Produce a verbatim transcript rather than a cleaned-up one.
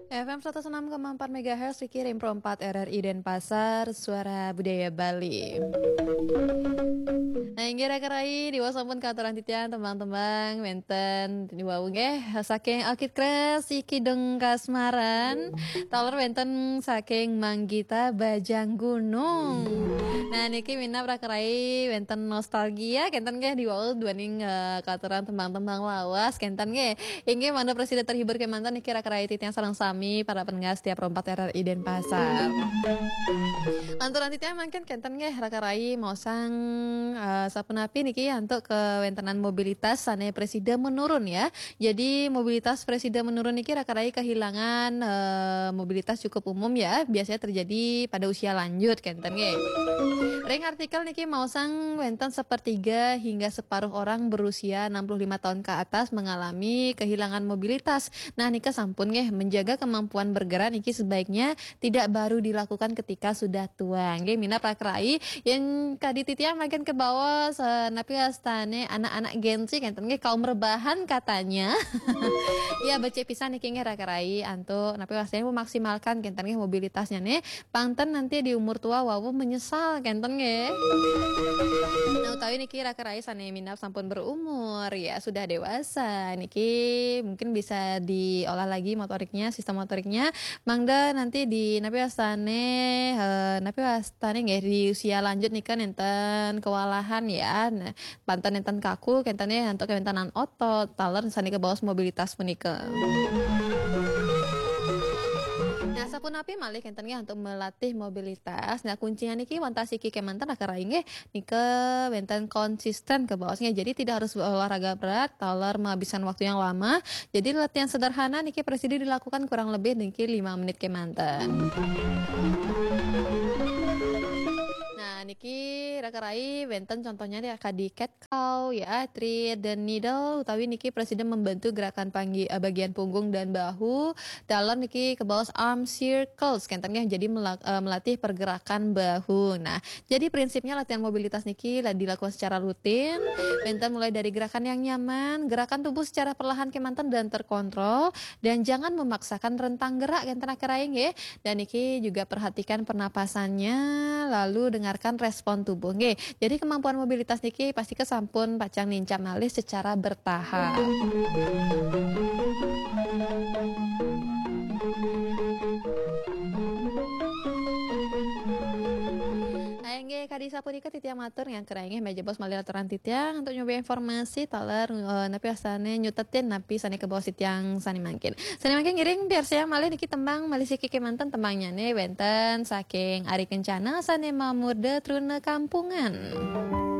F M seratus enam koma empat megahertz, Riki Rimpro empat R R I Denpasar, Suara Budaya Bali. Nah, inggih raka rai, diwaos sampun katurang titiang tembang-tembang wénten diwau nggih saking Alkid Kres, Iki Deng Kasmaran, taler wénten saking Manggita Bajang Gunung. Nah, niki minab raka rai wénten nostalgia kénten nggih diwau duaning eh, katurang tembang-tembang lawas kénten nggih. Inggih mangda prasida terhibur kémanten niki raka rai titiang sareng sami para pendengar setia Pro empat R R I Denpasar. Lanturang titiang mangkin kénten nggih raka rai maosang eh, sapunapi niki antuk kawéntenan mobilitas sané prasida menurun ya. Jadi mobilitas prasida menurun niki raka rai kehilangan eh, mobilitas cukup umum ya, biasanya terjadi pada usia lanjut kénten nggih. Ring artikel niki maosang wénten sepertiga hingga separuh orang berusia enam puluh lima tahun ke atas mengalami kehilangan mobilitas. Nah, nika sampun nggih, menjaga kemampuan bergerak niki sebaiknya tidak baru dilakukan ketika sudah tua. Nggih, minab raka rai, yén kadi titiang mangkin kabaos eh, napi wastané anak-anak Gen Z kénten nggih, kaum rebahan katanya. Ya, becik pisan niki nggih raka rai antuk napi wastané memaksimalkan kénten nggih mobilitasnya nih. Pang ten nanti di umur tua wau menyesal kénten nggih. Nah, utawi niki raka rai sané minab sampun berumur ya, sudah dewasa. Niki mungkin bisa diolah lagi motoriknya, sistem motoriknya. Mangda nanti di napi wastané eh, napi wastané nggih di usia lanjut nika nénten kewalahan ya. Nah, pang ten nénten kaku kénten nggih antuk kawéntenan otot, taler sané kabaos mobilitas punika. Nah, sapunapi malih kénten nggih antuk melatih mobilitas. Nah, kuncinya niki wantah siki kémanten raka rai nggih. Nika wénten konsisten kabaos nggih. Jadi tidak harus olahraga berat, taler menghabiskan waktu yang lama. Jadi latihan sederhana niki prasida dilakukan kurang lebih niki lima menit kémanten. Nah, niki raka rai wénten contohnya di kadi cat cow ya, thread dan needle utawi niki prasida membantu gerakan panggi, eh, bagian punggung dan bahu. Taler niki kabaos arm circles kénten nggih, jadi melak- eh, melatih pergerakan bahu. Nah, jadi prinsipnya latihan mobilitas niki la- dilakukan secara rutin. Wénten mulai dari gerakan yang nyaman, gerakan tubuh secara perlahan kémanten dan terkontrol, dan jangan memaksakan rentang gerak kénten raka rai nggih. Dan niki juga perhatikan pernapasannya, lalu dengarkan respon tubuh nggih. Jadi kemampuan mobilitas niki pasti kesampun pacang nincap malih secara bertahap. Nah, inggih kadi sapunika titiang matur ngangkir inggih méh jebos malih aturan titiang antuk nyoba informasi taler eh, napi wastané nyutetin napi sané kabaos titiang sané mangkin. Sané mangkin ngiring piarsayang malih niki tembang malih siki kémanten tembangnyané wénten saking Ari Kencana sané mamurda Truna Kampungan.